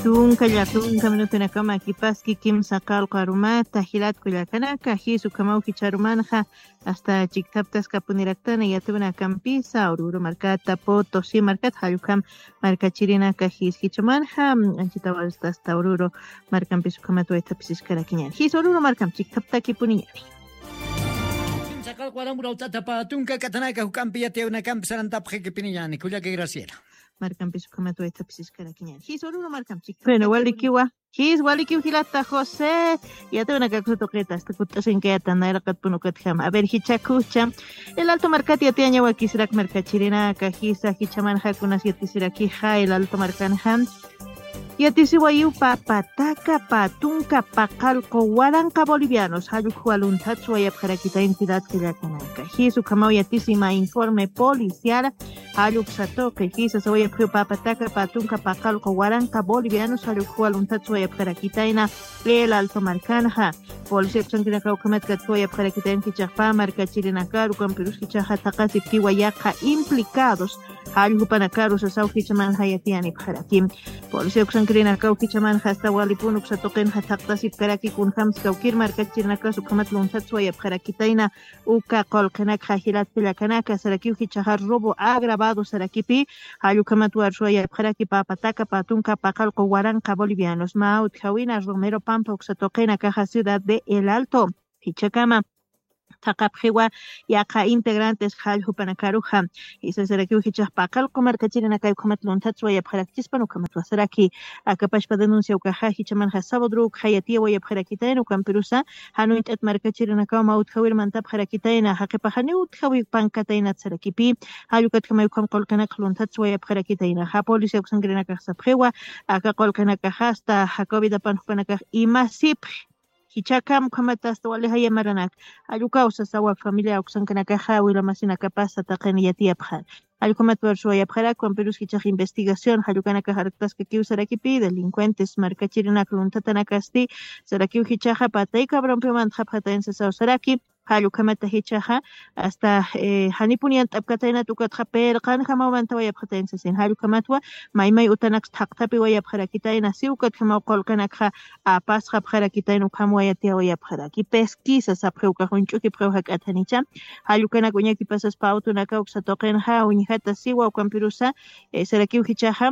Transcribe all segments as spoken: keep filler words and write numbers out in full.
Tunka lla tunka minutunakama kipaski kimsa qallqu arumata jilatku llakanaka, jis ukhamaw jichharumanxa hasta chikthaptaskapuniraktan yatiwinakampisa Oruro markata, Potosí markata, jallukam markachirinaka jis jichhamanxa, anchitawarsta hasta Oruro markampis ukhamat waythapisiskarakiñan. Jis Oruro markam chikthaptakipuniñani. Kimsa qallqu aram urawt'atapa tunka k'athanaka juk'ampi yatiyawinakampi sarantapxikipiniñani, kullaka Graciela. Markampis ukhamat waythapisiskarakiñan. Jis Oruro markam chikthaptakipuniñani. Bueno, walikiwa. Jis, walikiw jilata José. Yatiyawinakakusa tuqita, hasta kutt'asinkayata, nayraqatpun ukatjama. A ver, jichhakucha. El Alto markat yatiyaña wakisirak markachirinaka, jisa, jichhamanxa kunas yatisirakixa, El Alto markanxa. Yatisiwayiw papa taka pä tunka paqallqu waranqa bolivianos, jallukwa lunthat suwayapxarakita entidad llakanaka. Jis ukhamaw yatisi mä informe policial, jalluksa tuqi, jisa sawayapxiw papa taka pä tunka paqallqu waranqa bolivianos, jallukwa lunthat suwayapxarakitayna El Alto markanxa. Policía uksankirinaka ukhamat kat suwayapxarakitayna jichhax pä markachirinakar, ukampirus jichhaxa thaqasipkiwa yaqha implicados, jallku jupanakaru sasaw jichhamanxa yatiyanipxaraki. Policía uksankirinakaw jichhamanxa hasta walipun uksa tuqinxa thaqtasipkaraki kunjams kawkir markachirinakas ukhamat lunthat suwayapxarakitayna uka qullqinakxa jilat llakanaka, sarakiw jichhaxa robo agravado sarakipi, jallukhamat war suwayapxaraki papa taka pä tunka paqallqu waranqa bolivianos, mä utjawina Romero Pampa uksa tuqinakaxa ciudad de El Alto. Jichhakama thaqapxiwa yaqha integrantes jallku jupanakaruxa. Jisa sarakiw jichhax paqallqu markachirinakay ukhamat lunthat suwayapxarakchispan ukhamatwa saraki. Aka pachpa denuncia ukaxa jichhamanxa sabadru ukxa yatiyawayapxarakitayna, ukampirusa jan uñt'at markachirinakaw mä utjawir mantapxarakitayna, jaqipax janiw utjawi pankataynat sarakipi. Jallukatjamay ukham qullqinakx lunthat suwayapxarakitayna. Ja policía uksankirinakax sapxiwa aka qullqinakaxa hasta ja covidapan jupanakax imasipxi. Jichhakam ukhamat hasta wali jaya maranak. Jallukawsa sawa familia uksankinakaxa, wila masinakapasa taqin yatiyapxan. Jallukhamat war suwayapxarak, ukampirus jichhax investigación jallukanakax arktaskakiw sarakipi, delincuentes markachirinak lunthatanakasti sarakiw jichhaxa patay cabronpiw mantxapxatayn sasaw saraki. Jallukhamata jichhaxa hasta, eh, janipun yant'apkataynat ukatxa pirqanjamaw mantawayapxatayn sasin. Jallukhamatwa maymay utanaks thaqthapiwayapxarakitayna, si ukatjamaw qullqinakxa apasxapxarakitayna, ukham wayatiyawayapxaraki. Pesquisa sapxiw ukax uñch'ukipxiw jak'at janicha. Jallukanak uñakipasaspa awtunakaw uksa tuqinxa uñjata siwa, ukampirusa, eh, sarakiw jichhaxa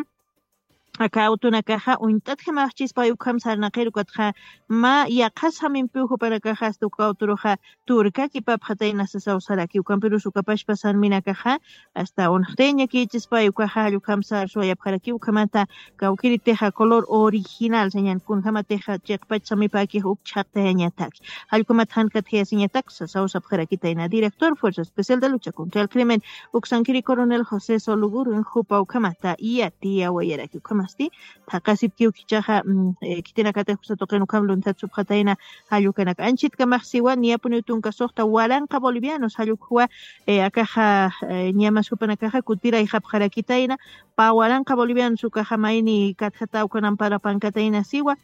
aka awtunakaxa uñt'atjamaxchispay ukham sarnaqir ukatxa mä yaqhas jamimpiw jupanakaxa hasta uka awturuxa turkakipapxatayna sasaw saraki. Ukampirus uka pachpa sarminakaxa hasta unxtay ñakïchispay ukaxa jallukhamsa arsuwayapxaraki. Ukhamata kawkiritixa color original sañan kunjamatixa chiqpach samipakix uk chhaqtayañataki. Jallukhamat jan katjayasiñatak sasaw sapxarakitayna. Director Fuerza Especial de Lucha contra el Crimen uksankiri coronel José Solugur jupa ukhamata yatiyawayaraki. Ukhamasti thaqasipkiw jichhaxa, mm, eh, khitinakatix uksa tuqin ukham lunthat supxatayna jallukanak. Anchitkamax siwa niyapuniw tunka suxta waranqa bolivianos jallukhuwa, eh, akaxa, eh, ñamas jupanakaxa kutirayxapxarakitayna pä waranqa bolivianos ukaxa mayni katjata ukanan para pankatayna siwa.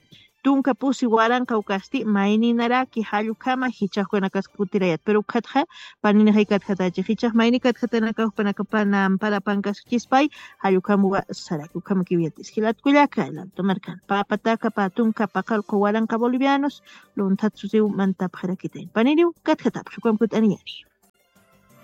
Tunka pusi waranqa ukasti mayninaraki jallukhama jichhax ukanakas kutirayat, pero ukatxa paninixay katjatachi. Jichhax mayni katjatanakax ukanakapanan para pankaskchispay jallukhamuwa saraki. Ukhamakiw yatis jilat kullaka, El Alto markan pä pataka pä tunka paqallqu waranqa bolivianos lunthat susiw mantapxarakitayna. Paniniw katjatapxi, ukham kut'aniñani.